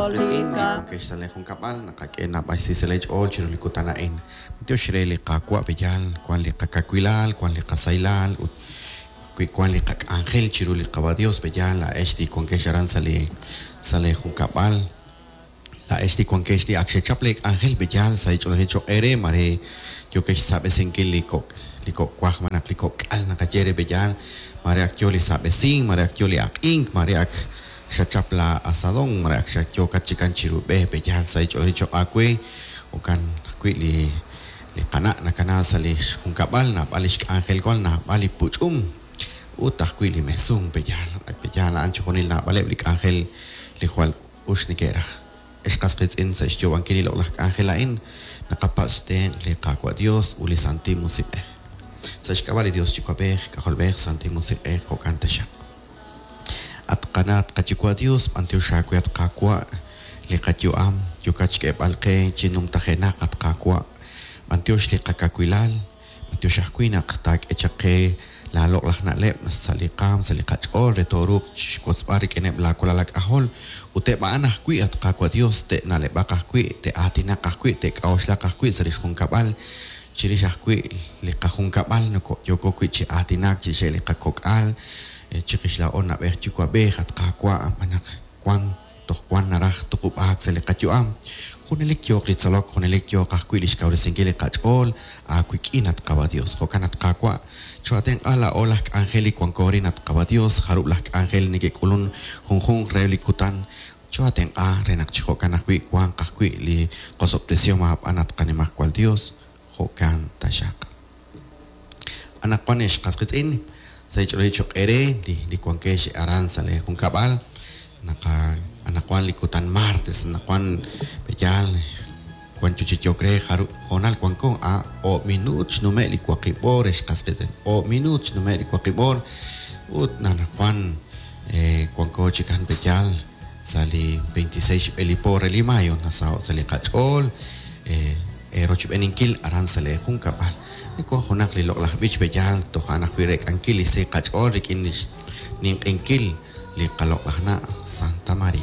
qas qiitz'in li wankex sa' lee junkab'al, naqak'e naab'al xsahil sa' lee ch'ool chiru li kutan a'in. B'antiox re li Qaawa' pe'yaal wan li qakawilal, wan li qasahilal ut wi wan li qak'anjel chiru li Qawa' Dios pe'yaal laa'ex li wankex aran sa' li sa' lee junkab'al. Laa'ex li wankex li ak xechap lee k'anjel pe'yaal sahil ch'oolejil cho'q eere, maare yookex xsaab'esinkil li kok' li kok' waj malaj li kok' k'al naqaye re pe'yaal, maare ak yoo li saab'esink, maare ak yoo li aq'ink, maare ak xachap laa asadon, maare ak xatyookat chikan chiru b'e pe'yaal sahil ch'oolejil cho'q aawe, jo'kan ajwi' li li qana' nakana sa' li xjunkab'al, naab'al li xk'anjel wan, naab'al li puch'um ut ajwi' li mesun pe'yaal, pe'yaal a'an chixjunil naab'aleb' li k'anjel li jwal us neke'raj. Ex qas qiitz'in, sa' xyoob'ankil li loq'laj k'anjel a'in, naqapatz' xtenq' li Qaawa' Dios ut li Santil Musiq'ej. Sa' xk'ab'a' li Dios Yuwa'b'ej, K'ajolb'ej, Santil Musiq'ej, jo'kan taxaq. At qana', at qaYuwa' Dios, b'antiox aawe, at Qaawa', li qayu'am yookat xk'eeb'al qe chi numtajenaq, at Qaawa'. B'antiox li qakawilal, B'antiox ajwi' naq taak'e chaq qe laa loq'laj na'leb' sa' li qaam, sa' li qach'ool re tooruuq chixwotzb'al rik'ineb' laa walal aak'ajol, ut eb' a'an ajwi', at Qaawa' Dios, te'na'leb'aq ajwi', te'aatinaq ajwi', te'k'a'uxlaq ajwi' sa' lix junkab'al, chirix ajwi' li qajunkab'al yooko wi' chi aatinak chirixeb' li qakok'al, chiqix laa'o na'b'ej yuwa'b'ej, at Qaawa', xb'aan naq wan Toj wan naraj tuqub'aak sa' li qayu'am. Junelik yooq li tzolok, junelik yooq ajwi' li xkawresinkil li qach'ool aawik'in, at Qawa' Dios. Jo'kan, at Qaawa', choo'atenq'a laa'o laj k'anjel li wanko arin, at Qawa' Dios, jarub' laj k'anjel neke'k'ulun junjunq reheb' li kutan. Choo'atenq'a re naq chi jo'kan ajwi' wanq ajwi' li qosob'tesihom aab'an, at qaNimajwal Dios. Jo'kan taxaq. Anaqwan ex qas qiitz'in, sa' ch'oolej choq' eere li li wankex aran sa' lee junkab'al, naqa anaqwan li kutan martes, anaqwan pe'yaal wan yo chi yook re jarub' hoonal wanko, a oob' minuut xnume' li waqib' oor ex qas qiitz'in, oob' minuut xnume' li waqib' oor ut anaqwan wanko chikan pe'yaal sa' li 26 xb'e li po re li mayo, nasaho' sa' li qach'ool. Eerochb'eeninkil aran sa' lee junkab'al. Wan junaq li loq'laj b'ich pe'yaal toj a'an ajwi' reek'ankil li sahil qach'ool rik'in lix ninq'ehinkil li qaloq'laj na' Santa Maria.